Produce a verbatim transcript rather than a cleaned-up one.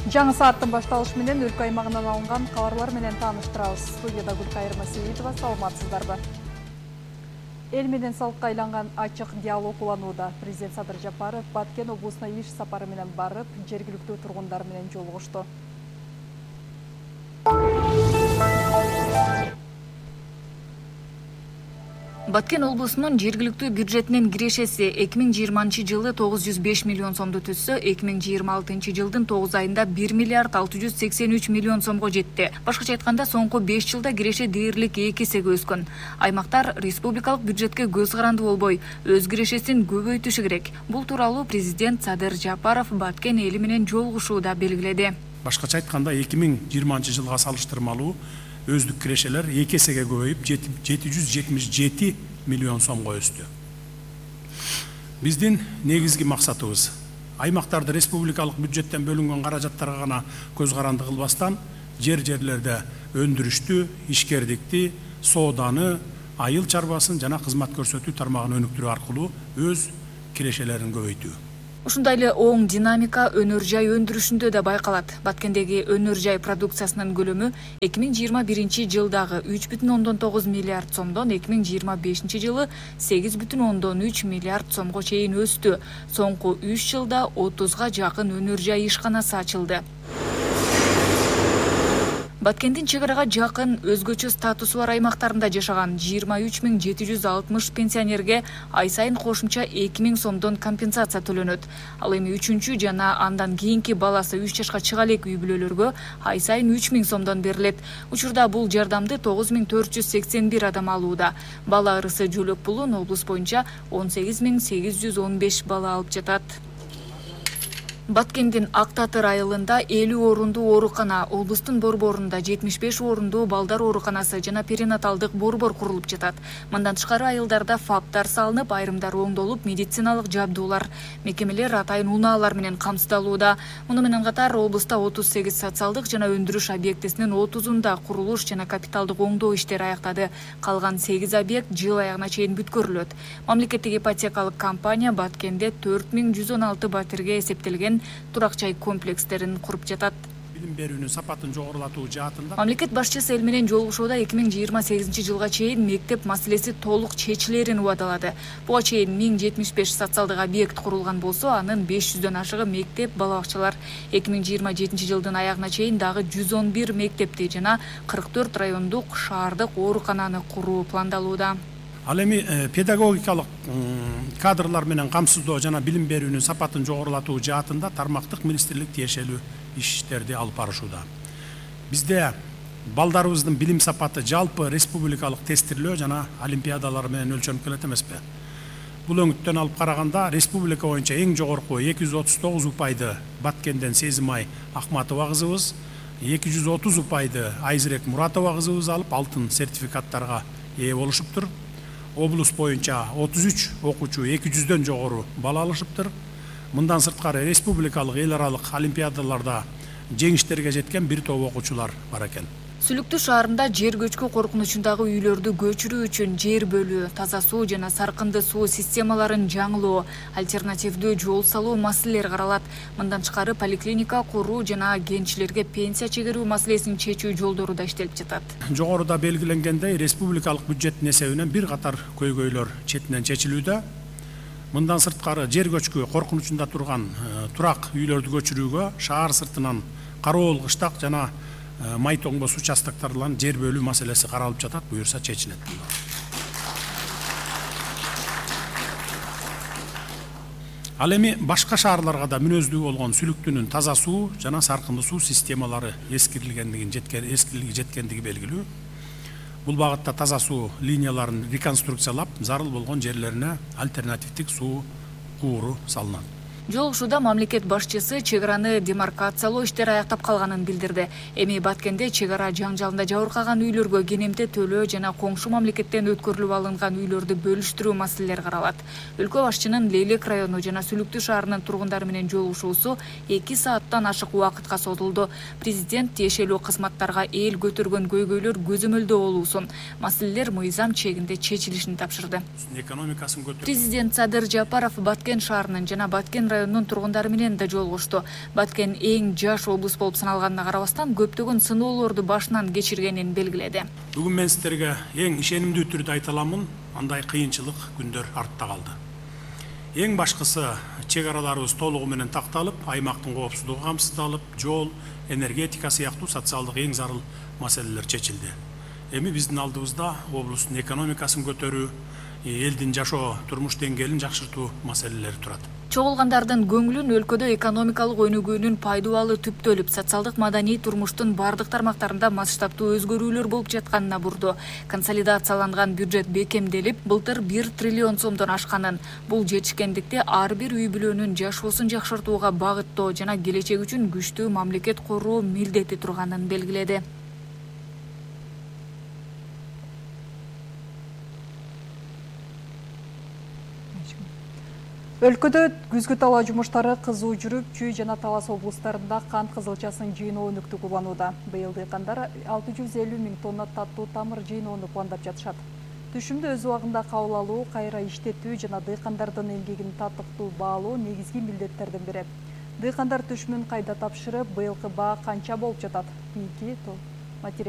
Жаңы сааттын башталышы менен өлкө аймагынан алынган кабарлар менен тааныштырабыз. Студияда Гүлкайыр Масеитова, саламатсыздарбы? Эл менен салыкка айланган ачык диалог уланууда. Президент Садыр Жапаров Баткен облусуна иш сапары менен барып, жергиликтүү тургундар менен жолугушту. Баткен облусунун жергиликтүү бюджетинин кирешеси эки миң жыйырманчы жылы тогуз жүз беш миллион сомду түзсө, эки миң жыйырма алтынчы жылдын тогуз айында бир миллиард алты жүз сексен үч миллион сомго жетти. Башкача айтканда, соңку беш жылда киреше дээрлик эки эсеге өскөн. Аймактар республикалык бюджетке көз каранды болбой, өз кирешесин көбөйтүшү керек. Бул тууралуу президент Садыр Жапаров Баткен эли менен жолугушууда белгиледи. Башкача айтканда, эки миң жыйырманчы жылга салыштырмалуу өздүк кирешелер эки эсеге көбөйүп, жети жүз жетимиш жети миллион сомго өстү. Биздин негизги максатыбыз аймактарды республикалык бюджеттен бөлүнгөн каражаттарга гана көз каранды кылбастан, жер-жерлерде өндүрүштү, ишкердикти, сооданы, айыл чарбасын жана кызмат көрсөтүү тармагын өнүктүрүү аркылуу өз кирешелерин көбөйтүү. Ушундай эле оң динамика өнөр жай өндүрүшүндө да байкалат. Баткендеги өнөр жай продукциясынын көлөмү эки миң жыйырма биринчи жылдагы үч бүтүн ондон тогуз миллиард сомдон эки миң жыйырма бешинчи жылы сегиз бүтүн ондон үч миллиард сомго чейин өстү. Соңку үч жылда отузга жакын өнөр жай ишканасы ачылды. Баткендин чек арага жакын өзгөчө статусу бар аймактарында жашаган жыйырма үч миң жети жүз алтымыш пенсионерге ай сайын кошумча эки миң сомдон компенсация төлөнөт. Ал эми үчүнчү жана андан кийинки баласы үч жашка чыга элек үй бүлөлөргө ай сайын үч миң сомдон берилет. Учурда бул жардамды тогуз миң төрт жүз сексен бир адам алууда. Бала ырысы жөлөк пулун облус боюнча он сегиз миң сегиз жүз он беш бала алып жатат. Баткендин Ак Татыр айылында элүү орундуу оорукана, облустун борборунда жетимиш беш орундуу балдар ооруканасы жана перинаталдык борбор курулуп жатат. Мындан тышкары айылдарда фаптар салынып, айрымдары оңдолуп, медициналык жабдуулар, мекемелер атайын унаалар менен камсыздалууда. Муну менен катар облуста отуз сегиз социалдык жана өндүрүш объектисинин отузунда курулуш жана капиталдык оңдоо иштери аяктады. Калган сегиз объект жыл аягына чейин бүткөрүлөт. Мамлекеттик ипотекалык компания Баткенде төрт миң жүз он алты батирге эсептелген турак жай комплекстерин куруп жатат. Билим берүүнүн сапатын жогорулатуу жаатында мамлекет башчысы эл менен жолугушууда эки миң жыйырма сегизинчи жылга чейин мектеп маселеси толук чечилерин убадалады. Буга чейин миң жетимиш беш социалдык объект курулган болсо, анын беш жүздөн ашыгы мектеп, бала бакчалар. эки миң жыйырма жетинчи жылдын аягына чейин дагы жүз он бир мектепти жана кырк төрт райондук шаардык оорукананы куруу пландалууда. Ал эми педагогикалык кадрлар менен камсыздоо жана билим берүүнүн сапатын жогорулатуу жаатында тармактык министрлик тиешелүү иштерди алып барышууда. Бизде балдарыбыздын билим сапаты жалпы республикалык тестирлөө жана олимпиадалар менен өлчөнүп келет эмеспи? Бул өңүттөн алып караганда республика боюнча эң жогорку эки жүз отуз тогуз упайды Баткенден Сезимай Акматова кызыбыз, эки жүз отуз упайды Айзирек Муратова кызыбыз алып алтын сертификаттарга ээ болушуптур. Облус боюнча отуз үч окуучу эки жүздөн жогору бала алышыптыр. Мындан сырткары республикалык эл аралык олимпиадаларда жеңиштерге жеткен бир топ окуучулар бар экен. Сүлүктүү шаарында жер көчкү коркунучундагы үйлөрдү көчүрүү үчүн жер бөлүү, таза суу жана саркынды суу системаларын жаңылоо, альтернативдүү жол салуу маселелери каралат. Мындан тышкары поликлиника куруу жана кенчилерге пенсия чегерүү маселесин чечүү жолдору да иштелип жатат. Жогоруда белгиленгендей, республикалык бюджеттин эсебинен бир катар көйгөйлөр четинен чечилүүдө. Мындан сырткары жер көчкү коркунучунда турган турак үйлөрдү көчүрүүгө шаар сыртынан Кароол кыштак жана Майтоңбос участоктарларын жер бөлүү маселеси каралып жатат, буюрса чечилет. Ал эми башка шаарларга да мүнөздүү болгон сүлүктүүнүн таза суу жана саркынды суу системалары эскирилгендигин жеткен эскирилиги жеткендиги белгилүү. Бул багытта таза суу линияларын реконструкциялап, зарыл болгон жерлерине альтернативдик суу кууру салынат. Жолугушууда мамлекет башчысы чек араны демаркациялоо иштери аяктап калганын билдирди. Эми Баткенде чек ара жаңжалында жабыркаган үйлөргө кенемте төлөө жана коңшу мамлекеттен өткөрүлүп алынган үйлөрдү бөлүштүрүү маселелери каралат. Өлкө башчынын Лейлек району жана Сүлүктүү шаарынын тургундары менен жолугушуусу эки сааттан ашык убакытка созулду. Президент тиешелүү кызматтарга эл көтөргөн көйгөйлөр көзөмөлдөө болуусун, маселелер мыйзам чегинде чечилишин тапшырды. Президент Садыр Жапаров Баткен шаарынын жана Баткен районунун тургундары менен да жолугушту. Баткен эң жаш облус болуп саналганына карабастан көптөгөн сыноолорду башынан кечиргенин белгиледи. Бүгүн мен сиздерге эң ишенимдүү түрдө айта аламын, андай кыйынчылык күндөр артта калды. Эң башкысы чек араларыбыз толугу менен такталып, аймактын коопсуздугу камсыздалып, жол, энергетика сыяктуу социалдык эң зарыл маселелер чечилди. Эми биздин алдыбызда облустун экономикасын көтөрүү, элдин жашоо турмуш деңгээлин жакшыртуу маселелери турат. Чогулгандардын көңүлүн өлкөдө экономикалык өнүгүүнүн пайдубалы түптөлүп, социалдык маданий турмуштун бардык тармактарында масштабтуу өзгөрүүлөр болуп жатканына бурду. Консолидацияланган бюджет бекемделип, былтыр бир триллион сомдон ашканын, бул жетишкендикти ар бир үй бүлөнүн жашоосун жакшыртууга багыттоо жана келечек үчүн күчтүү мамлекет куруу милдети турганын белгиледи. Өлкөдө күзгү талаа жумуштары кызуу жүрүп, Чүй жана Талас облустарында кант кызылчасынын жыйноо өнүктү кубанууда. Быйыл дыйкандар алты жүз элүү миң тонна таттуу тамыр жыйноону пландап жатышат. Түшүмдү өз убагында кабыл алуу, кайра иштетүү жана дыйкандардын эмгегин татыктуу баалоо негизги милдеттердин бири. Дыйкандар түшүмүн кайда тапшырып, быйылкы баа канча болуп жатат? Кийинки материал